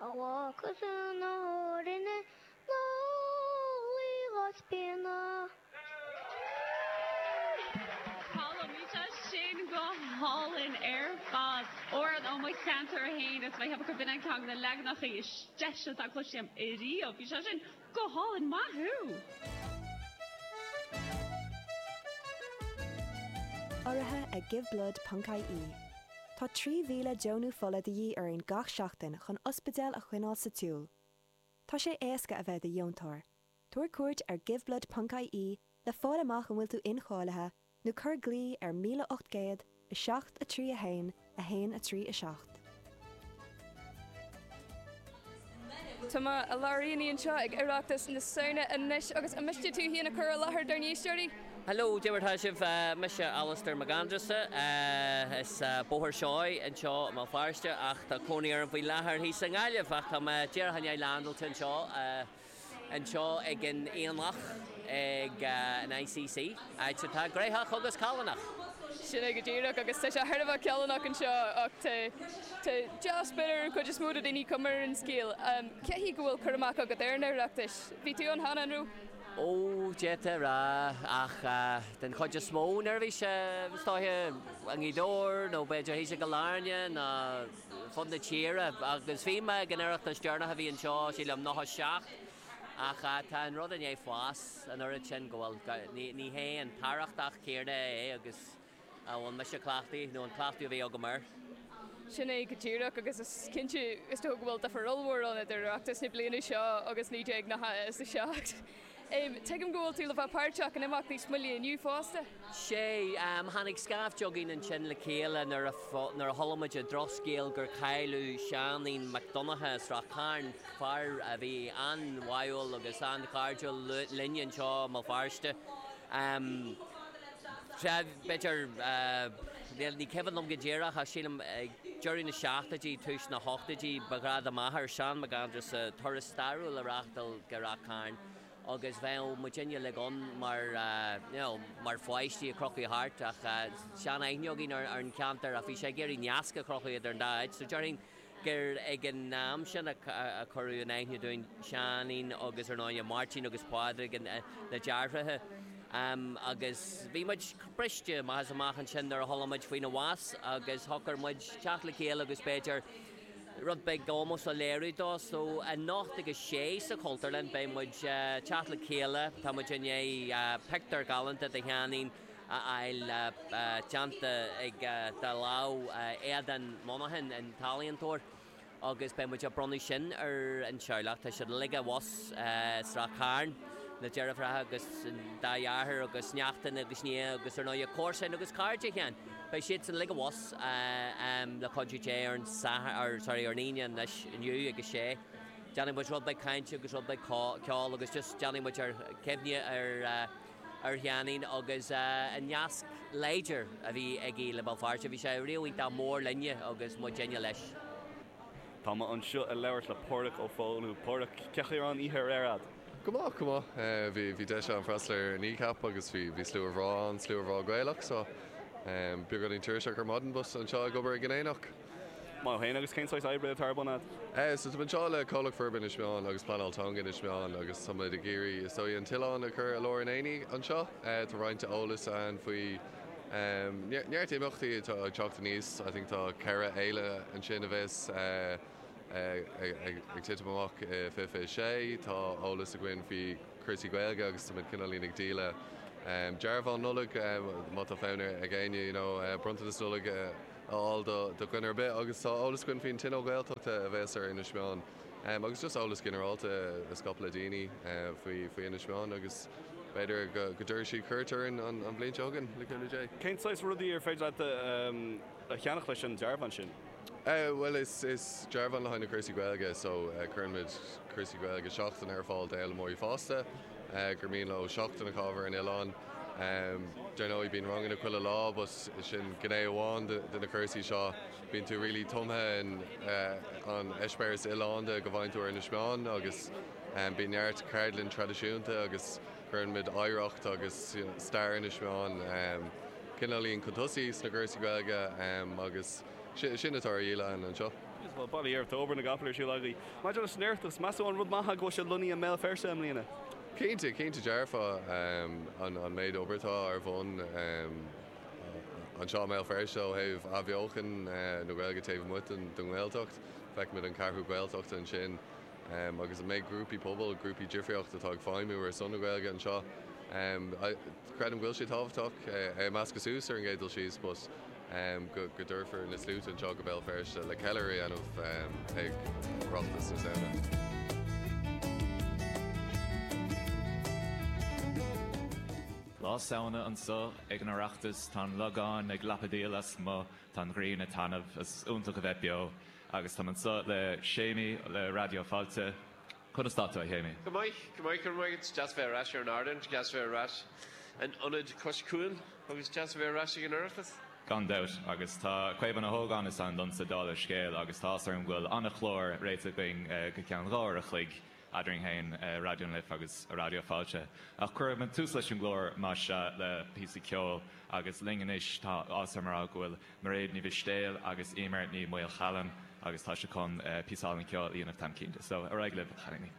A bhfágthas ina rinne ná luí spíonadh. Colm, bhí sé sin go hálainn ar fad. Amhrán ó mo cheantar féin is mé ag ceapadh gurb in é ceann de na leaganacha is deise atá cloiste agam ariamh. Bhí sé sin go hálainn, maith thú! Urraithe ag Giveblood ponc ie. Tá 3,000 deonú fola de dhíth orainn gach seachtain chun ospidéil a choinneáil sa tsiúl. Tá sé éasca a bheith i do dheontóir. Tabhair cuairt ar giveblood ponc ie le fáil amach an bhfuil tú incháilithe nó cuir glao ar 1800 7 3 1 1 3 7. Tá mé i lár aonaigh anseo ag Oireachtas na Samhna anois agus an miste tú féin a chur i láthair dár n-éisteoirí? Hello, cad é mar atá sibh? Mise Alastair Mac Aindreasa. As Bóthar Seoighe anseo i mBéal Feirste ach tá cónaí orm faoi láthair thíos i nGaillimh ach tá mé díreach i ndiaidh landáilte anseo anseo ag an Aonach ag an ICC, áit atá gnoitheach agus callánach. Sin é go díreach agus tá sé thar a bheith callánach anseo ach tá tá dea-spiorad ar an chuid is mó de daoine cuma ar an scéal. Cé go bhfuil cur amach agat ar an Oireachtas? Bhí tú ann cheana, an raibh? Ó, d'fhéadfá a rá, ach den chuid is mó nuair a bhí sé, is dóiche, i nGaoth Dobhair nó b'fhéidir thíos i gCill Airne nó fud na tíre. Agus bhí mé ag an Oireachtas deireanach a bhí anseo, sílim, 97, ach tá an rud i ndiaidh fás an oiread sin go bhfuil, ní hé an t-arrachtach céanna é agus a bhfuil mise cleachtaithe, nó an cleachtadh a bhí agam air. Sin é go díreach, agus is cinnte, is dócha go bhfuil difear ollmhór ann idir Oireachtas na bliana seo agus 1997. Tuigim go bhfuil tú le bheith páirteach in imeacht níos moille inniu fosta. Sea, tháinig scaifte againn ansin le chéile nuair a nuair a chuala muid an drochscéal gur cailleadh Seáinín Mac Donncha as Ráth Chairn, fear a bhí an-bháúil agus an-chairdiúil linn anseo i mBéal Feirste. Sea, b'fhéidir, ní cuimhin liom go díreach ach sílim ag deireadh na seachtóidí, tús na hochtóidí, ba ghnách do m'athair, Seán Mac Aindreasa, turas stairiúil a reáchtáil go Ráth Cairn agus bheadh muidinne uilig ann mar, you know, mar pháistí ag crochadh thart ach sean-aithne againn ar an cheantar ach bhí sé ag iarraidh nasc a chruthú idir an dá áit so déarfainn gur ag an am sin a cuireadh in aithne dúinn Seáinín agus ar ndóigh Máirtín agus Pádraig, na deartháireacha. Agus bhí muid briste amach is amach ansin nuair a chuala muid faoina bhás agus shocair muid teacht le chéile agus b'fhéidir rud beag ómóis a léiriú dó. So anocht ag a sé sa Chultúrlann beidh muid teacht le chéile, tá muid i ndiaidh pictiúr galánta de Sheáinín a fháil déanta ag de lámh Aodán Monaghan, an t-ealaíontóir, agus beidh muid ag bronnadh sin ar an teaghlach. Tá siad uilig abhus sa Ráth Cairn, na deirfiúracha agus an dá dheartháir agus neachtain agus nia agus ar ndóigh comharsain agus cairde Sheáin. Beidh siadsan uilig abhus le cuidiú Dé ar an Satharn, sorry, ar an Aoine anois inniu ag a sé. Déanfaidh muid rud beag cainte agus rud beag ceoil agus just déanfaidh muid ár gcuimhne ar ar Sheáinín agus an nasc láidir a bhí aige le Béal Feirste. Bhí sé riamh iontach mór linne agus muidinne leis. Tá mé anseo ag labhairt le Páraic Ó Foghlú. Páraic, cén chaoi a raibh an oíche aréir a'd? Go maith, go maith. Bhí, bhí deis agam freastal ar Kneecap agus bhí, bhí slua bhreá ann, slua bhreá Gaelach so beagáinín tuirseach ar maidin but anseo ag obair ag an Aonach. Maith thú féin agus cén saghas oibre atá ar bun a'd? So tá mé anseo le Comhlacht Forbartha Inis Meáin agus Pleanáil Teanga Inis Meáin agus tá muid ag iarraidh is dóigh an t-oileán a chur i lár an aonaigh anseo. Tá roinnt eolas ann faoi neart imeachtaí atá ag teacht aníos. I think tá ceithre fhéile ansin a bheas ag titim amach i 2026. Tá eolas againn faoi cúrsaí Gaeilge agus tá muid cineáilín ag díol dearbhán Nollag má tá fonn ag éinne you know bronntanas Nollag a a fháil do dhuine ar bith agus tá eolas againn faoin Tionól Gaeltachta a bheas ar Inis Meáin agus just eolas ginearálta a scaipeadh le daoine faoi faoi Inis Meáin agus b'fhéidir go go dtabharfaidh siad cuairt orainn an an bhliain seo chugainn, le cúnamh Dé. Cén saghas rudaí ar féidir leat a cheannach leis an dearbhán sin? Bhuel is is dearbhán le haghaidh na cúrsaí Gaeilge so cuireann muid cúrsaí Gaeilge seachtaine ar fáil d'fhoghlaimeoirí fásta gur mian leo seachtain a chaitheamh ar an oileán. Dar ndóigh bíonn ranganna chuile lá but sin gné amháin de na cúrsaí seo. Bíonn tú really tumtha in an eispéireas oileánda go bhfaigheann tú ar Inis Meáin agus bíonn neart ceardlann traidisiúnta agus cuireann muid oidhreacht agus stair Inis Meáin cineáilín chun tosaigh sna cúrsaí Gaeilge agus sin atá ar dhíol againn anseo. Bhuel, bail ó Dhia oraibh, tá obair na gcapall ar siúl agaibh. Maidir leis an Oireachtas, meas tú an rud maith go bhfuil sé lonnaithe i mBéal Feirste i mbliana? Cinnte, cinnte dearfa an méid obair atá ar bun anseo i mBéal Feirste ó thaobh athbheochan na Gaeilge taobh amuigh den nGaeltacht. Feicimid an Ceathrú Gaeltachta ansin agus an méid grúpaí pobail, grúpaí difríochta atá ag feidhmiú ar son na Gaeilge anseo. Creidim go bhfuil sé tábhachtach é a mheascadh suas ar an gcéad dul síos but go dtabharfar na sluaite anseo go Béal Feirste le ceiliúradh a dhéanamh ag Oireachtas na Samhna. Lá Samhna anso ag an Oireachtas, tá an logán ag lapadaíl lasmuigh, tá an ghrian ag taitneamh, is iontach a bheith beo agus táim anso le Séimí le Raidió Fáilte. Conas tá tú, a Shéimí? Go maith, go maith, go raibh maith agat. Deas bheith ar ais ar an ardán, deas bheith ar ais in ionad cois cuain agus deas a bheith ar ais ag an Oireachtas. Gan dabht, agus tá Caomhán Ó hÓgáin is ainm domsa, dála an scéil, agus tá áthas orm go bhfuil an-chlár réitithe againn go ceann 2 uair a chloig eadrainn féin, Raidió na Life agus Raidió Fáilte. Ach cuirfidh muid tús leis an gclár, más ea, le píosa ceoil, agus linn anois tá áthas orm a rá go bhfuil Mairéad Ní Mhistéil agus Eimear Ní Mhaolchallann agus tá siad chun píosa álainn ceoil a dhéanamh táim cinnte. So, ar aghaidh libh, a chailíní.